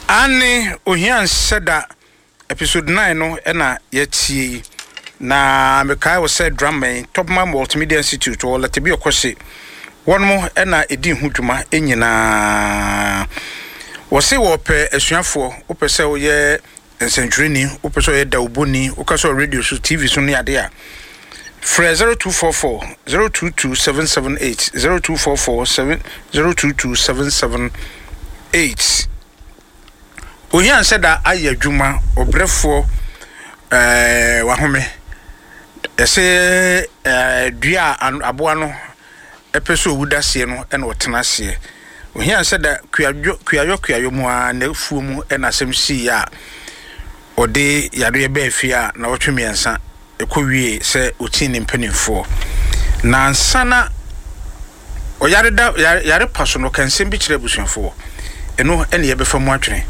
Aane, ohia nhyɛ da. Episode 9 no na yɛatie yi. Na mekae wo sɛ drama yi, Topman Multimedia Institute wɔ Latabi Ɔkɔhye, wɔnom na ɛdi ho dwuma nyinaa. Wɔse wɔpɛ asuafoɔ, wopɛ sɛ woyɛ nsɛntwerɛni, wopɛ sɛ ɔyɛ dawubɔni, wokasa wɔ radio so, TV so ne adeɛ a, frɛ 0244 022 778, 0244 7 022 778. Ohia nsɛ da ayɛ adwuma, ɔbrɛfoɔ ɛɛ wahome. Yɛse ɛɛ dua a aboa no pɛ sɛ owu da aseɛ no na ɔtena aseɛ. Ohia nsɛ da kuadwo kuayɔ kuayɔ mu ara n'afuo mu na asɛm siiɛ a ɔde yareɛ baa fie a nnawɔtwe mmiɛnsa ɛkɔ wie sɛ ɔtii ne mpanimfoɔ. Na ansa na Ɔyare da yare yare pa so no, ɔka nsɛm bi kyerɛ abusuafoɔ. Ɛno ne yɛbɛfa mu adwene.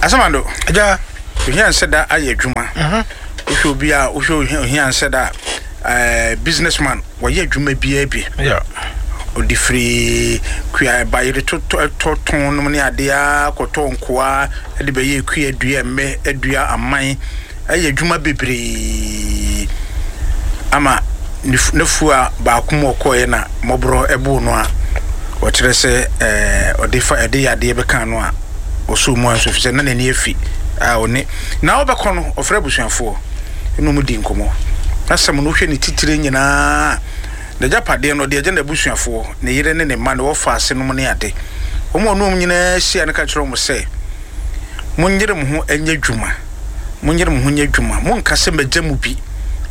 Asamando, Agya. Ohia nsɛ da ayɛ adwuma. Mhm. Wohwɛ obi a wohwɛ ohia nsɛ da a businessman wɔyɛ adwuma biara bi. Yeah. Ɔde firi kua bayere totɔ tɔ tɔn nom ne adeɛ ara kɔtɔ nkoa de bɛyɛ kua dua mmɛ dua aman. ayɛ adwuma bebree ama n'afua baako mu ɔkɔeɛ na mmɔborɔ boo no a ɔkyerɛ sɛ ɔde fa ɛde yadeɛ bɛka no a ɔsoo mu anso fi sɛ na n'ani afi a ɔne na ɔbɛkɔ no ɔfrɛ abusuafoɔ ɛna ɔmu di nkɔmmɔ asɛm no wohwɛ ne titire nyinaa n'agyapadeɛ no ɔde agya n'abusuafoɔ ne yere ne ne mma ne wɔfa ase nom ne ade wɔn a ɔne wɔn nyinaa hyia no ka kyerɛ wɔn sɛ Monyere mo ho nyɛ adwuma, monyere mo ho nyɛ adwuma, monnka sɛ, 'Magya mo bi,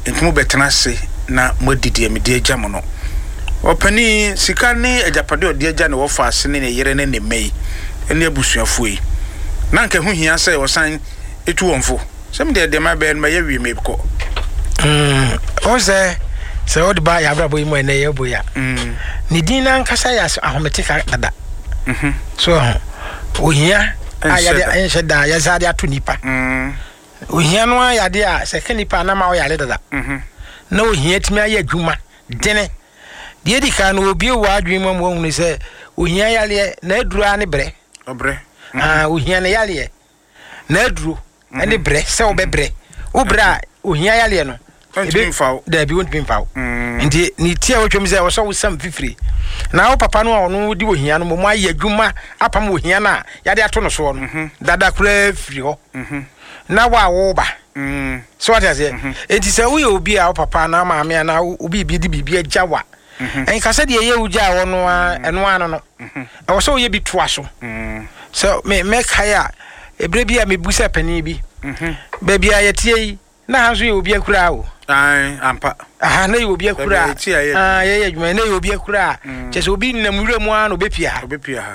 enti mobɛtena ase na moadi deɛ mede agya mo no. Ɔpanin, sika ne agyapadeɛ a ɔde agya ne wɔfaase ne ne yere ne ne mma yi ne abusuafoɔ yi, na anka ɛho hia sɛ ɔsan tu wɔn fo? Sɛ me deɛ, deɛ mabɛyɛ no, mayɛ awie, merekɔ. Wohu sɛ, sɛ wode ba yɛn abrabɔ yi mu a ɛnnɛ yɛrebɔ yi a, ne din no ankasa yɛ ahometeka dada. So ho ohia a yɛde nhyɛ da yɛsa de ato nipa. Mm. Ohia no ara yɛ a sɛ ka nipa na ma ɔyare dada. Mhm. Na ohia tumi ayɛ adwuma dene. Deɛ edi kan no obie wɔ adwene mu ama wahunu sɛ ohia yareɛ na aduro ara ne brɛ. Ɔbrɛ. Ah, ohia ne yareɛ. N'aduro ne brɛ sɛ wobɛbrɛ. Wo brɛ a ohia yareɛ no. Ɔntumi mfa wo. Daabi wontumi mfa wo. Mm. Nti ne ti a wotwam sɛ ɔsɛ wosam fifire. Na wo papa no a ɔno di ohia no mmom ayɛ adwuma apam ohia no a yɛde ato no soɔ no mhm. dada koraa firi hɔ. Mhm. Na wo a woba. Mm. So wate aseɛ? Mhm. Nti sɛ woyɛ obi a wo papa anaa maame anaa obi bi de biribi agya wa. Nka sɛ deɛ ɛyɛ wo gyaa hɔ no ara ɛno ara no no. Ɛwɔ sɛ woyɛ bi toa so. Sɛ me mɛkae a, ɛberɛ bi a mebu sɛ panin bi, baabi a yɛteɛ yi, na ha nso yɛ obi akuraa o. Ae, ampa. Aha, na yɛ obi akuraa. Ah, yɛyɛ adwuma, na yɛ obi akuraa. Kyɛ sɛ obi nam wura mu ara na obɛpia ha. Obɛpia ha.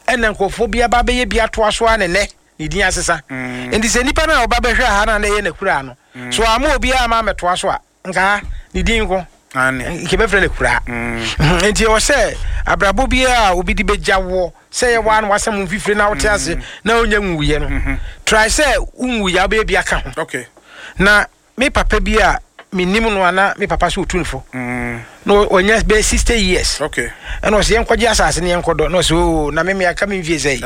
Ɛna nkurɔfoɔ bi aba abɛyɛ bi atoa so ara ne nnɛ ne din asesa. Nti sɛ nipa no a ɔba bɛhwɛ ha no a na ɛyɛ n'akuraa no, so amma obiara amma ammɛtoa so a, Nka ha, ne din nko. Nka yɛbɛfrɛ no akuraa. Mm. Nti ɛwɔ sɛ abrabɔ biara a obi de bɛgya woɔ sɛ yɛ waa na wasɛm wo mfifire na wote ase mm. na wonya nwuiɛ no. Mm-hmm. Try sɛ wonwuiɛ a wobɛyɛ bi aka ho. Okay. Na me papa bi a menim no ana me papa sɛ ɔtu no fo. Mm. Na ɔnya bɛyɛ 60 years. Okay. Ɛna ɔsɛ yɛnkɔgye asase no yɛnkɔdɔ na ɔsɛ oo na me meaka me mfie sɛ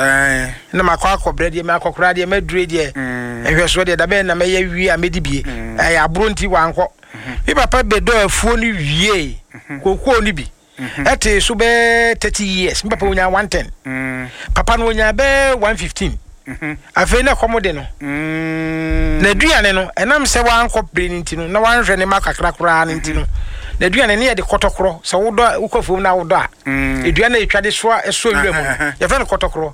na makɔ akɔbrɛ deɛ makɔkora deɛ madure deɛ mm. nhwɛsoɔ deɛ dabɛn na mɛyɛ wie a mɛdi bie mm. ɛyɛ aboro nti wankɔ mm-hmm. me papa bɛdɔ afuo no wie mm-hmm. kokoo no bi mm-hmm. ɛte so bɛɛ 30 years me papa ɔnya 110 mm. papa no ɔnya bɛɛ 115 Afei na ɛkɔm de no. N'aduane no, ɛnam sɛ wankɔ bere no nti no, na wanhwɛ ne mma kakra koraa no nti no, n'aduane no yɛde kɔtɔkorɔ. Sɛ wodɔ wokɔ afuom na wodɔ a, dua no a yɛtwa de soa sɔ wira mu no, yɛfrɛ no kɔtɔkorɔ.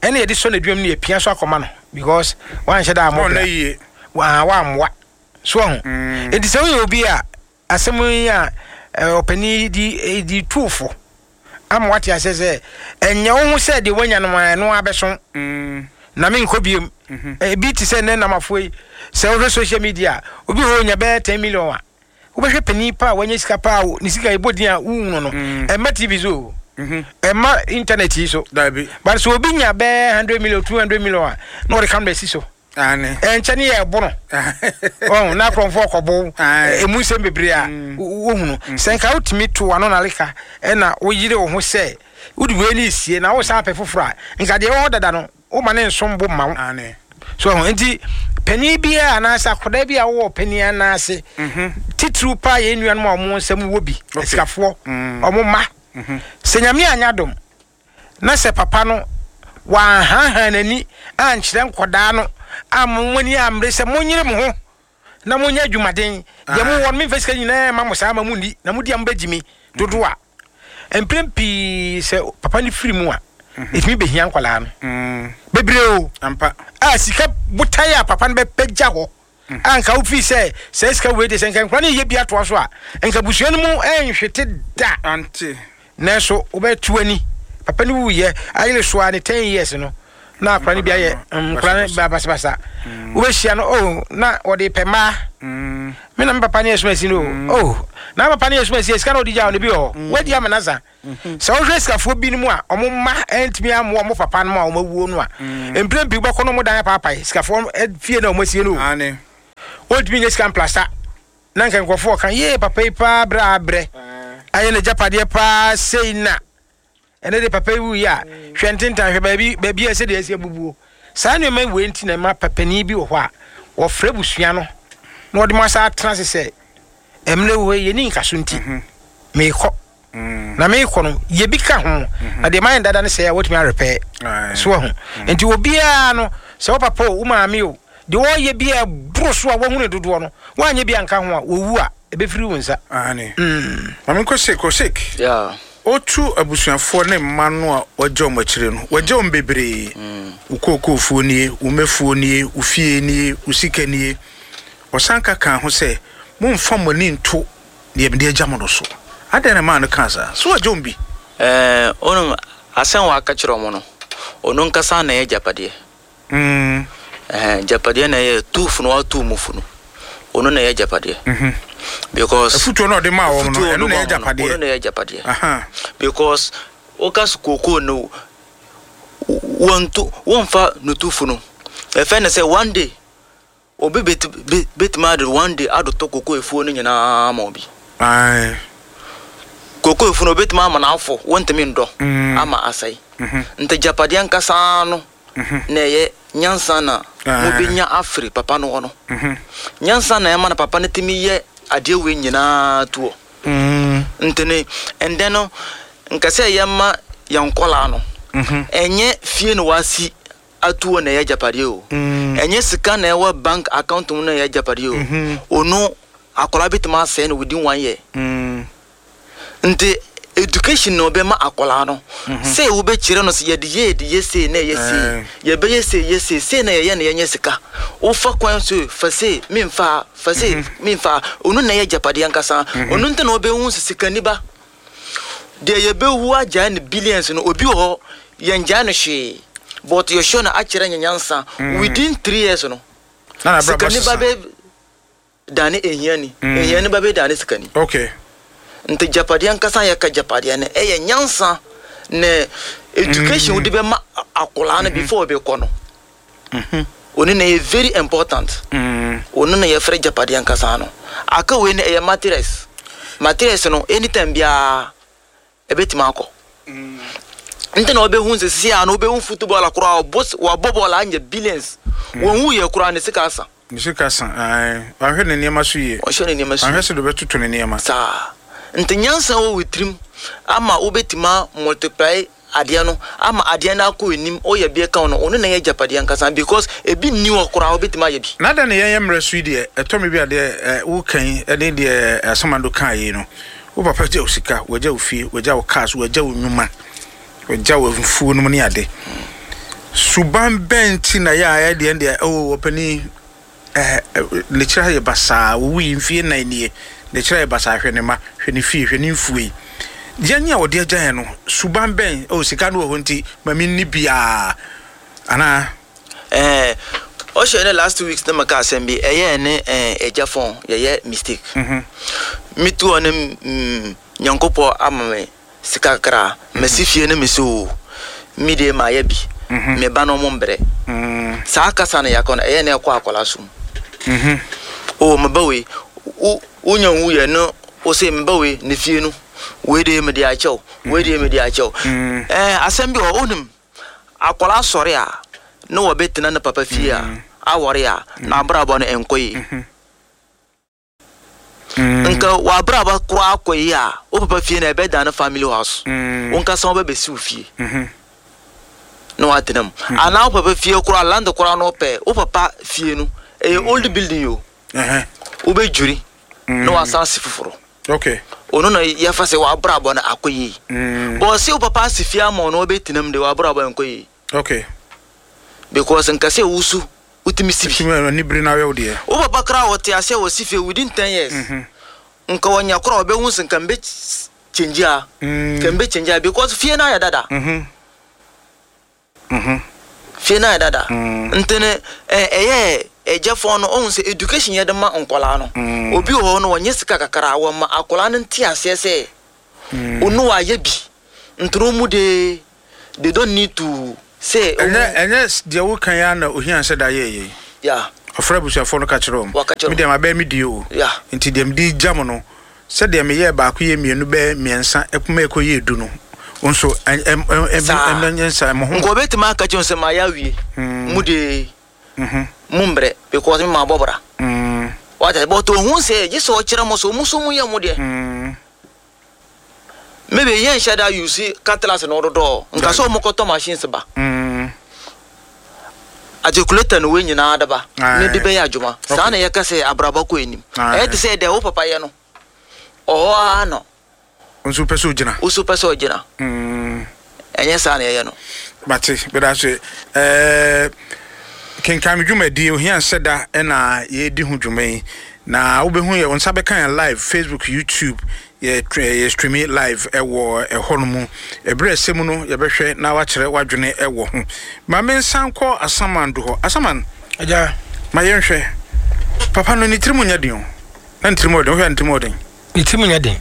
Ɛna yɛde sɔ n'aduam no yɛpia so akɔma no because wanhyɛ da ammɔ bra. Wammoa. So ahu? Enti sɛ woyɛ obi a Asɛm yi a ɔpanin yi de de tu wo fo ama woate aseɛ sɛ ɛnyɛ wo ho sɛ deɛ woanya no ara ɛno ara bɛso na menkɔ biom. Ebi te sɛ nnɛ namafoɔ yi, sɛ wohwɛ social media a, obi hɔ ɔnya bɛyɛ 10 million a, wobɛhwɛ panin pa a wanya sika pa a ne sika ɛbɔ din a wohunu no, ɛmma TV so o, ɛmma internet yi so. But sɛ obi nya bɛyɛ 100 million, 200 million a, na ɔde camera si so. Ɛnkyɛ ne yɛ ɛbo no. Ɔn na akorɔmfoɔ kɔbo emu nsɛm bebree a wohunu. Sɛ nka wotumi to w'ano naleka ɛna woyere wo ho sɛ wode wei ne esie na wosan apɛ foforɔ a, nka deɛ ɛwɔ hɔ dada no woma ne nsom bo mma wo. So ho nti panin biara anaasɛ akwadaa bi a wowɔ panin anaase titiriw paa yɛn nuanom a wɔn nsam wɔ bi asikafoɔ wɔn mma sɛ Nyame anyɛ adom na sɛ papa no wanhaahaa n'ani ankyerɛ nkwadaa no amma wɔn ani ammere sɛ monyere mo ho na monyɛ adwumaden, deɛ mowɔ no memfa sika nyinaa mma mo saa ma monni, na modi a mobɛgye me dodoɔ a, mprɛn pii sɛ papa no firi mu a, ɛtumi bɛhia nkwadaa no bebree o. A sika botaeɛ a papa no bɛpɛgya hɔ a nka wofii sɛ saa sika wei de sɛ nka nkwadaa no yɛ bi atoa so a nka abusua no mu nhwete da. Nanso wobɛto ani papa no wuyɛ ayere so a ne 10 years no na akora no bi ayɛ nkora no ba basabasa. Wobɛhyia no oh na wɔde pɛ mmaa. Me na me papa ne asumasi no oh na papa ne asumasi sika na ɔde gya no bi wɔ hɔ wadi ama nasa. Sɛ wohwɛ sikafoɔ binom a wɔn mma antumi ammoa wɔn papa nom a wɔn awuo no a, mprɛn pii wobɛkɔ no wɔn dan apaapae sikafoɔ fie na wɔn asie no o. Wɔntumi nyɛ sika mplasta na nka nkurɔfoɔ ɔka yee papa yi paa berɛ a abrɛ ayɛ n'agyapadeɛ paa sei na ɛnɛ de papa yi wuiɛ a hwɛ ntentan hwɛ baabi baabi a sɛdeɛ asi abubuo. Saa nneɛma wei nti na ɛma papanin bi wɔ hɔ a wɔfrɛ abusua no na wɔde mo asa atena ase sɛ mmerɛ wɔ hɔ yi yɛnni nkaso nti meekɔ. Na meekɔ no yɛ bi ka ho na deɛ mayɛ no dada no sɛe a wɔatumi arepɛɛ. So wahu? Nti obiara no sɛ wo papa o wo maame o deɛ ɔreyɛ bi a ɛboro so a wahu ne dodoɔ no woanyɛ bi anka ho a wɔwu a ɛbɛfiri wo nsa. Aane. Maame nkɔ Sheik, ɔ Sheik, ɔtu abusuafoɔ ne mma no a wagya wɔn akyire no, wagya wɔn bebree, wo kookoofuo nie, wo mmɛfuo nie, wo fie nie, wo sika nie. Ɔsan ka kaa ho sɛ, Mommfa mo ani nnto deɛ mede agya mo no so. Adɛn na ɛmaa no kaa saa? So wagya wɔn bi? Ɛɛ, wonim, asɛm a waka kyerɛ wɔn no, ɔno ankasa na ɛyɛ agyapadeɛ. Ɛhɛn, agyapadeɛ na ɛyɛ tu funu, watu mu funu. Ɔno na ɛyɛ agyapadeɛ. Because. Afutuo na ɔde maa wɔn no, ɛno na ɛyɛ agyapadeɛ. Ɔno na ɛyɛ agyapadeɛ. Because woka so kookoo no, wɔntu, wɔmfa no tu funu. Ɛfɛ ne sɛ one day. Obi betumi ade one day adotɔ koko afuo no nyinaa ama obi. Ae. Koko afuo no obetumi ama no afɔ, wontumi ndɔ ama asɛe. Nti agyapadeɛ ankasa no na ɛyɛ nyansa na mobenya afiri papa no hɔ no. Nyansa na ɛma no papa no tumi yɛ adeɛ wei nyinaa toɔ. Nti no ɛndɛ no nka sɛ yɛma yɛn nkɔlaa no, ɛnyɛ fie na wasi atuo na ɛyɛ agyapadeɛ o, ɛnyɛ sika na ɛwɔ bank account mu na ɛyɛ agyapadeɛ o, ono akwadaa bɛtumi asɛe no within one year. Nti education na ɔbɛma akwadaa no sɛ wobɛkyerɛ no sɛ yɛde yɛ yɛde yɛ sei na ɛyɛ sei, yɛbɛyɛ sei yɛ sei, sei na yɛyɛ na yɛnyɛ sika. Wofa kwan so fa sei memfa ha, fa sei memfa ha, ono na ɛyɛ agyapadeɛ ankasa. Ono nti na wobɛhu sɛ sikani ba Deɛ yɛbɛwu agyae no billions no obi wɔ hɔ yɛngyae no hwee but yɛhwɛ no akyerɛ nyɛ nyansa within 3 years no sikani ba bɛ dane ehiani ehiani ba bɛ dane sikani. Okay. Nti gyapadeɛ ankasa yɛka gyapadeɛ no ɛyɛ nyansa ne education wode bɛma akwadaa no before ɔbɛkɔ no. Ono na ɛyɛ very important. Ono na yɛfrɛ gyapadeɛ ankasa no. Aka wei no ɛyɛ materials. Materials no anytime biara ɛbɛtumi akɔ. Nti na wobɛhu sɛ sisi a no wobɛhu footballer koraa ɔbɔ wabɔ bɔɔl anya billions. Wɔnwu yɛ koraa ne sika asa. Ne sika sa ae. Wanhwɛ ne nneɛma so yie. Wanhwɛ ne nneɛma so yie. Wanhwɛ sɛ deɛ ɔbɛtoto ne nneɛma. Saa. Nti nyansa wɔ wo tirim ama wobɛtumi a multiply adeɛ no ama adeɛ no akɔ anim woyɛ bi ka ho no ɔno na ɛyɛ agyapadeɛ ankasa because ebi nni hɔ koraa wobɛtumi ayɛ bi. Na dɛn na yɛn yɛ mmerɛ so yi deɛ ɛtɔ me bi a deɛ ɛ woka yi ne deɛ Asamando kaa yi no wo papa gya wo sika wagya wo fie wagya wo cars wagya wo nnwuma wagya wo mfuo nom ne ade suban bɛn nti na yɛ a ɛdeɛ deɛ oh ɔpanin Eh, ne kyerɛ ayɛ basaa, owui mfie nnan nie, ne kyerɛ ayɛ basaa, hwɛ ne mma, hwɛ ne fie, hwɛ ne mfuo yi. Yɛn a wɔde agya yɛn no, suban bɛn, oh, sika no wɔ hɔ nti, ma menni biara, anaa? Eh, ɔhyɛ ne last 2 weeks na meka asɛm bi, ɛyɛ ne eh, agya phone, yɛyɛ mistake. Metu hɔ ne mm, Nyankopɔn ama me sika kakra, masi fie ne me so, me deɛ mayɛ bi. Me ba no ɔmo mbrɛ. Saa kasa no yɛaka no ɛyɛ na ɛkɔ akwadaa so mu. Oh me ba wei wo wonya nwuiɛ no wo se me ba wei ne fie no wei deɛ mede akyɛ wo wei deɛ mede akyɛ wo. Ɛɛ asɛm bi wɔ hɔ wonim akwadaa sɔre a na wɔbɛtena ne papa fie a awɔre a n'abrabɔ no ɛnkɔ yie. Nka w'abrabɔ koraa kɔ yie a, wo papa fie no ɛbɛdane family house. Wo nkasa wobɛbɛsi wo fie na woatena mu. Anaa wo papa fie koraa, land koraa na wopɛ, wo papa fie no, ɛyɛ old building o. Wobɛdwiri na wasan asi foforɔ. Ɔno na yɛfa sɛ w'abrabɔ no akɔ yie. But sɛ wo papa asi fie ama wo na wobɛtena mu deɛ, w'abrabɔ ɛnkɔ yie. Because nka sɛ wosu wotumi si bi. Wotumi ani bere na ayɛ wo deɛ. Wo papa koraa ɔte aseɛ wɔ si fie within 10 years. Nka ɔnya koraa ɔbɛhu sɛ nka mbɛ change a. Nka mbɛ change a because fie no ayɛ dada. Fie no ayɛ dada. Nti no ɛyɛ ɛgyɛfoɔ no ɔhu sɛ education yɛde ma nkɔlaa no. Obi wɔ hɔ no ɔnyɛ sika kakra wɔma akɔlaa no nte aseɛ sɛ ɔno wayɛ bi. Nti no ɔmu de they don't need to say. Ɛnyɛ ɛnyɛ deɛ woka yi ara na ohia sɛ da yɛɛ yei. Yeah. Ɔfrɛ abusuafoɔ no ka kyerɛ wɔn. Waka kyerɛ Me deɛ mabɛyɛ me deɛ o. Yeah. Nti deɛ mede regya mo no, sɛdeɛ meyɛɛ baako yɛɛ mmienu bɛyɛ mmiɛnsa ɛkuma ɛkɔyɛɛ du no, wo nso ɛ ɛ ɛ ɛ Saa. ɛnyɛ nsa mo ho. Nka ɔbɛtumi aka kyerɛ wɔn sɛ mayɛ awie. Mo de mo mbrɛ because me mabɔ bra. Wate ase? But ohun sɛ gye sɛ ɔkyerɛ mo sɛ ɔmo nso mo yɛ mo deɛ. Maybe yɛn nhyɛ da use cutlass no dodɔ nka sɛ ɔmo kɔtɔ machines ba. Articulator no wei nyinaa de ba ne de bɛyɛ adwuma. Saa na yɛka sɛ abrabɔ kɔ anim. Ɛyɛ te sɛ deɛ wo papa yɛ no ɔhɔ ara na. Nso pɛ sɛ ogyina. Wo nso pɛ sɛ ɔgyina. Ɛnyɛ saa na yɛyɛ no. Mate, meda ase. Ɛɛ, kenkan me dwumadie, Ohia Nsɛ Da na yɛredi ho dwuma yi. Na wobɛhu yɛ, wo nsa bɛka yɛn live, Facebook, YouTube, yɛ, yɛ streami live ɛwɔ ɛhɔ no mu. Ɛberɛ ɛsɛ mu no, yɛbɛhwɛ na wakyerɛ w'adwene ɛwɔ ho. Ma me nsan kɔ Asaman do hɔ. Asaman, Agya. ma yɛnhwɛ. Papa no, ne tirim nyɛ den o. Na ne tirim wɔ den, wohwɛ a ne tirim wɔ den? Ne tirim nyɛ den.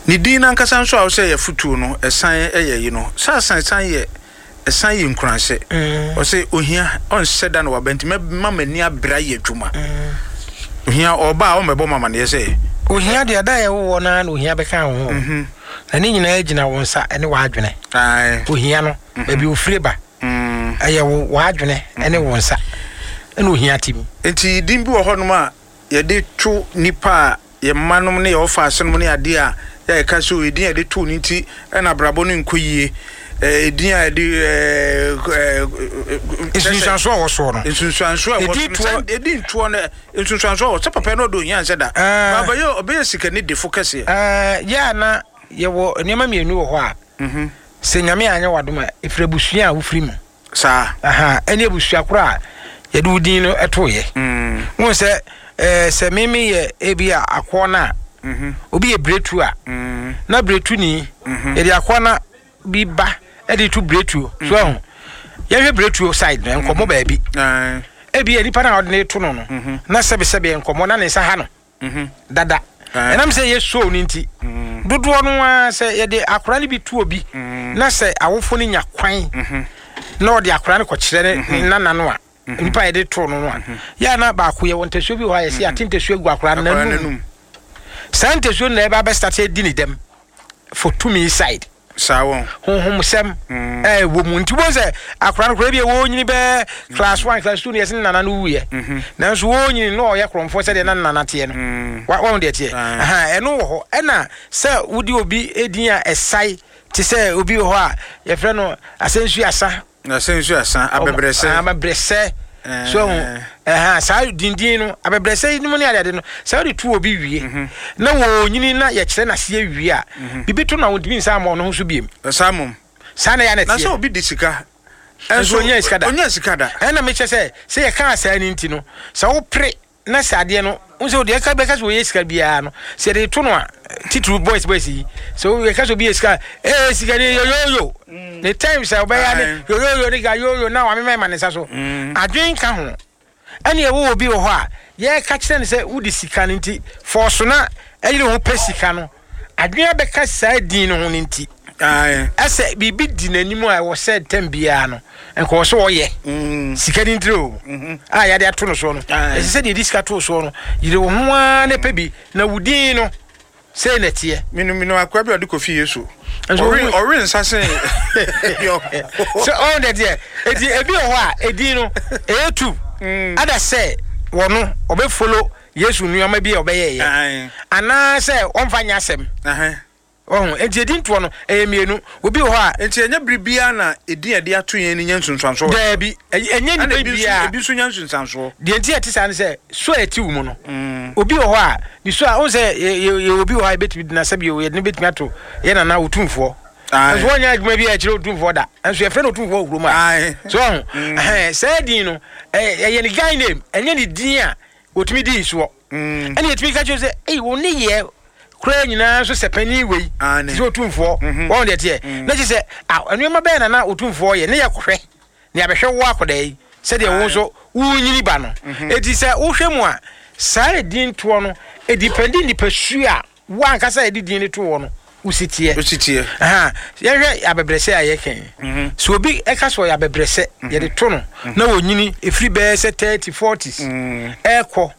Ne din no ankasa nso a wosɛ yɛ afotuo no, ɛsan yɛ yi no, sɛ asan ɛsan yɛ ɛsan yɛ nkuranhyɛ. Ɔsɛ ohia ɔnhyɛ da na waba nti mɛma m'ani abere ayɛ adwuma. Ohia ɔba a ɔmmɛbɔ me amaneɛ sɛ. Ohia deɛ da a yɛwo wɔ no ara na ohia bɛka wo ho. Na ne nyinaa gyina wo nsa ne w'adwene. Ohia no, baabi ofire ba, ɛyɛ wo w'adwene ne wo nsa na ohia te mu. Nti din bi wɔ hɔnom a yɛde to nnipa a yɛn mma nom ne yɛn wɔfaase nom ne adeɛ a yɛ a yɛka sɛ o edin a yɛde too no nti na abrabɔ no nkɔ yie, edin a yɛde ɛɛ Nsunsuansoɔ a ɛwɔ soɔ no. Nsunsuansoɔ a ɛwɔ Edin so no toɔ. sɛ edin toɔ no nsunsuansoɔ wɔ sɛ papa yi na ɔde ohia nsɛ da. Ɛɛ. Ɔbɛyɛ ɔbɛyɛ sikani defo kɛseɛ. Ɛɛ yɛ a na yɛwɔ nneɛma mmienu wɔ hɔ a sɛ Nyame anyɛ w'adom a ɛfiri abusua a wofiri mu. Saa. Aha, ɛne abusua korɔ a yɛde wo din no toeɛ. Wohu sɛ, ɛɛ, sɛ me meyɛ ebi a akoɔ no a, obi yɛ biretu a, na biretuni, yɛde akoɔ no bi ba de to biretuo. So ahu? Yɛhwɛ biretuo side no, nkɔmmɔ baabi. Ebi a nipa no a ɔde ne to no no, na sɛbesɛbe nkɔmmɔ na ne nsa ha no. dada. Ɛnam sɛ ɛyɛ show no nti, dodoɔ no ara sɛ yɛde akwadaa no bi to obi na sɛ awofo no nya kwan na ɔde akwadaa no kɔkyerɛ ne nana no a, nipa a yɛde too no no a, yɛ a na baako yɛwɔ ntasuo bi wɔ hɔ a yɛsɛ yɛate ntasuo agu akwadaa no n'anum. Saa ntasuo no na ɛba abɛstate adi ne dɛm for tumi side. Saa wɔn. Honhomsɛm a ɛwɔ mu nti wobɛhu sɛ akora no koraa bi a wɔnyini bɛɛ class one class two no yɛsɛ ne nana no wuiɛ nanso wɔnyini na ɔyɛ korɔmfoɔ sɛdeɛ na ne nana teɛ no wɔn deɛ teɛ ɛno wɔ hɔ ɛna sɛ wode obi din a ɛsae te sɛ obi wɔ hɔ a yɛfrɛ no asɛnsu asa Asɛnsu asa, abɛbrɛsɛ. Abɛbrɛsɛ. So ɛho ɛha saa dindin no abɛbrɛsɛ yi mu ne adeade no sɛ wode to obi wie mhm. na wɔnyini na yɛkyerɛ n'aseɛ wie a mhm. biribi to na wɔntumi nsa ama ɔno ho so biem. Saa mom. Saa na yɛ na ɛteɛ. Na sɛ obi di sika. Nso onyaa sika da. Onyaa sika da. Ɛna mekyɛ sɛ sɛ yɛka saa ni nti no sɛ wopere na sɛ adeɛ no n sɛ deɛ ɛka bɛka sɛ wɔyɛ sika biara no sɛ yɛde to no a titiri boys boys yi sɛ yɛka sɛ obi yɛ sika ee sika ni yoyoyo mm. ne time sɛ ɔbɛyɛ ne yoyoyo ne ka yoyo na wamema ma ne nsa so mm. adwene ka ho ɛne ɛwɔ obi wɔ hɔ a yɛka kyerɛ no sɛ wode sika no nti fɔɔso na ɛyere ho pɛ sika no adwene abɛka saa din no ho no nti. Ɛsɛ biribi di n'anim a ɛwɔ sɛ tɛm biara no nka wɔ sɛ ɔyɛ sika no ntiri o a yɛde ato no soɔ no. Ɛsɛ sɛ deɛ yɛde sika too soɔ no, yere wo ho ara na pɛ bi na wo din no sei na ɛteɛ. Menu akoa bi a ɔde kɔfi Yesu. Ɔwe nsa sen. Sɛ ɔn dɛ deɛ eti ebi wɔ hɔ a edin no ɛyɛ tu ada sɛ wɔno ɔbɛfolo Yesu nneɛma bi a ɔbɛyɛɛyɛ anaasɛ ɔmfa nyɛ asɛm. Ɔho enti edin toɔ no ɛyɛ mmienu. Obi wɔ hɔ a. Enti ɛnyɛ bere biara na edin a yɛde ato yɛn no nya nsunsuansoɔ wɔ yɛn so. Daabi, ɛnyɛ nnipa biara. Ɛna ebi nso nya nsunsuansoɔ. Deɛ nti a ɛte saa ne sɛ, su a ɛte wo mu no, obi wɔ hɔ a, ne su a, wohu sɛ yɛwɔ obi wɔ hɔ a yɛbɛtumi de no asɛ bio, yɛde no bɛtumi ato yɛn nana Otumfoɔ. Nso wɔnyɛ adwuma bi a ɛkyerɛ Otumfoɔ da. Nso yɛfrɛ no Otumfoɔ wɔ kurom a. So ɔho, ɛhɛn, saa din no, ɛyɛ ne guy name, ɛnyɛ ne din a wɔtumi dii soɔ. Ɛna yɛtumi ka kyerɛ sɛ, ei, wo nneyɛɛ koraa nyinaa nso sɛ panin wei, te sɛ Otumfoɔ, wɔn deɛ teɛ. Na kyerɛ sɛ, nneɛma bɛyɛ na na Otumfoɔ yɛ, ne yɛkɔhwɛ, ne yɛabɛhwɛ wo akɔdaa yi, sɛdeɛ wo nso wonyini ba no. Enti sɛ wohwɛ mu a, saa edin toɔ no, ɛdipɛndi nipa su a wo ankasa a yɛde din no to wɔ no, wo si teɛ. Wo si teɛ. Yɛhwɛ abɛbrɛsɛ a yɛka yi. Sɛ obi ɛka sɛ ɔyɛ abɛbrɛsɛ, yɛde to no, na wɔnyini, ɛfiri bɛyɛ sɛ 30, 40s, ɛkɔ.